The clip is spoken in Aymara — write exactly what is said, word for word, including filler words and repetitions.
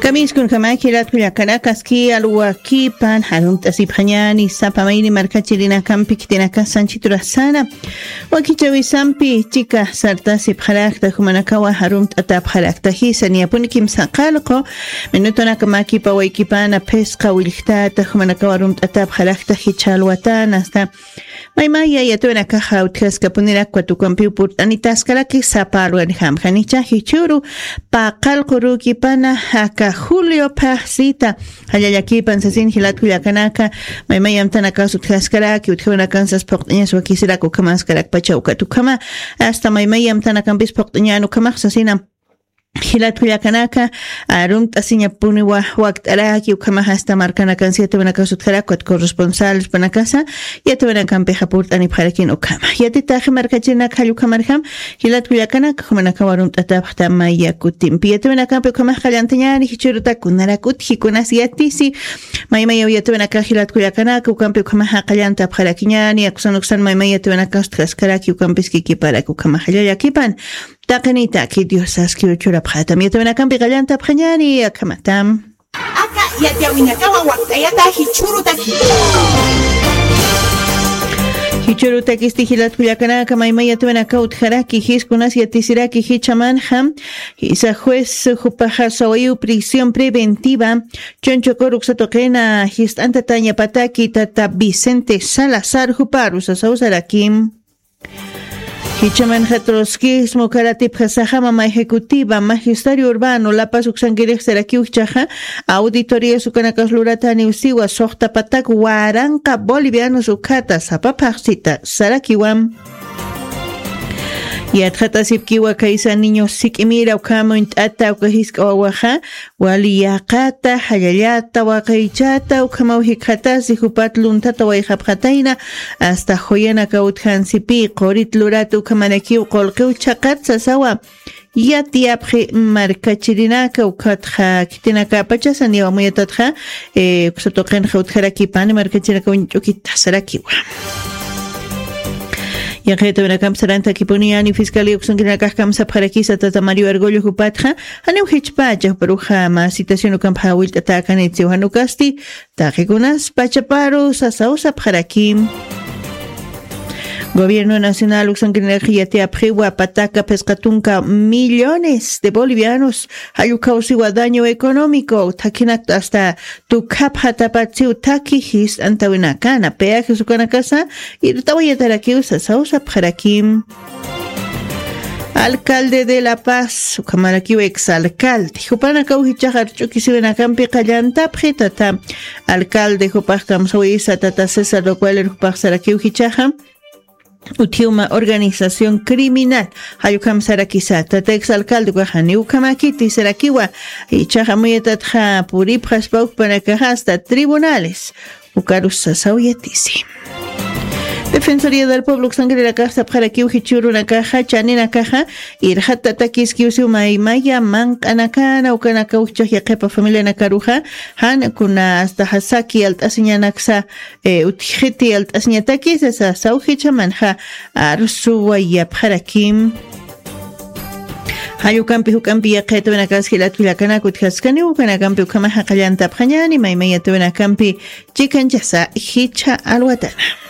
Kamiskunkamaki latkullakanakaski alwakipan harumt'asipxañani sapa mayni markachirinakampi khitinakasanchiturasana. Wakichawisampi chika sartasipxarakta jumanakawa harumt'atapxarakta jisa niyapuni kimsa qalqu minutunakamakipa waykipana phisqa willktata jumanakawa harumt'atapxarakta jicha alwatana asta maymaya yatiwanakaxa utjaskapunirakwat ukampiw purt'anitaskaraki sapa alwanijamjanicha jichuru paqal qurukipana aka julio phaxsita jallallakipan sasin jilatkullakanaka maymaya amtanakax utjaskaraki utjawanakan sas phuqt'añas wakisirak ukhamaskarakpacha ukat ukhama asta maymaya amtanakampis phuqt'añan ukhamax sasina jilatkullakanaka arumt'asiñapuniwa wakt'araki ukhamax asta markanakan siete wanakas utjarakwat corresponsalespanakasa yatiwanakampixa purt'anipxarakin ukhama yatitaxi markachirinaka jallukhamarjam jilatkullakanaka jumanakawa arumt'atapxta maya kutimpi yatiwanakampi ukhamax qallantañani jichurutakunarak utjikunas yatisi maymayaw yatiwanakax jilatkullakanaka ukampi ukhamax jaqallantapxarakiñani akusan uksan maymaya yatiwanakas utjaskaraki ukampis kikiparak ukhamax jallallakipan taqinitaki diosaskiw churapxatam yatiwanakampi qallantapxañani akhamatam. Aka yatiyawinakawa wakt'ayata jichhurutaki. Jichhurutakisti jilatkullakanaka maymay yatiwanaka utjaraki jiskunas yatisiraki jichamanxa jisa juez jupaxa sawayiw prisión preventiva chunchukur uksatuqina jist'antatañapataki tata vicente salazar juparu sasawsarakim. Jichamanxa trotsquismo karatipxasaxa mama ejecutiva magisterio urbano lapas uksankirixsarakiw jichaxa auditorías ukanakas lurataniw siwa suxtapatak waranqa bolivianos ukhata sapa phaxsita sarakiwam. Yatxatasipkiwa kaysa niños sik'imira ukhama uñt'ata uka jisk'a wawaxa wali yaqata jallallata waqaychata ukhamaw jikxatasi jupat luntata wayxapxatayna asta juyanaka utjansipï qurit lurata ukhamarakiw qullqiw chhaqat sasawa yatiyapxi markachirinaka ukhatxa khitinakapachasa niyaw amuyatatxa uksatuqinxa utjarakipani markachirinaka uñch'ukita sarakiwa. Yaqitawinakampi sarantakipuni yani fiscalía uksankirinakax kamsapxarakisa tata mario argollo jupatxa janiw jichpacha juparuxa mä citación ukampxa willt'atäkanitsiw janukasti taqikunas pachaparu sasawsapxaraki. Gobierno nacional uksankirinakax yatiyapxiwa pataka phisqa tunka millones de bolivianos jallukawsiwa daño económico thakinakta asta tukhapxatapatsiw thaki jist'antawinakana peajes ukanakasa irt'awayatarakiw sasawsapxarakim. Alcalde de la paz ukhamarakiw exalcalde jupanakaw jichaxa arch'ukisiwinakampi qallantapxi tata alcalde jupax kamsawisa tata césar docualer jupax sarakiw jichaxa utjiwma organización criminal jallukhamsarakisa tata exalcalde ukaxaniw ukhamakiti sarakiwa jichaxa amuyatatxa puripxaspa ukpanakaxa asta tribunales ukarus sasawiyatisi. Defensoría del pueblo uksankirinakax sapxarakiw jichhürunakaxa chaninakaxa irxatatakiskiw siw maymaya manq'anakana ukanakaw jichax yaqhipa familianakaruxa jan kuna asta jasaki alt'asiñanaksa utjxiti alt'asiñatakisa sasaw jichamanxa arsuwayapxarakim. Jallukkampi juk'ampi yaqhitawinakas jilatkullakanaka utjaskaniw ukanakampi ukhamaxa qallantapxañani maymay yatawinakampi chikanchasa jichha alwatana.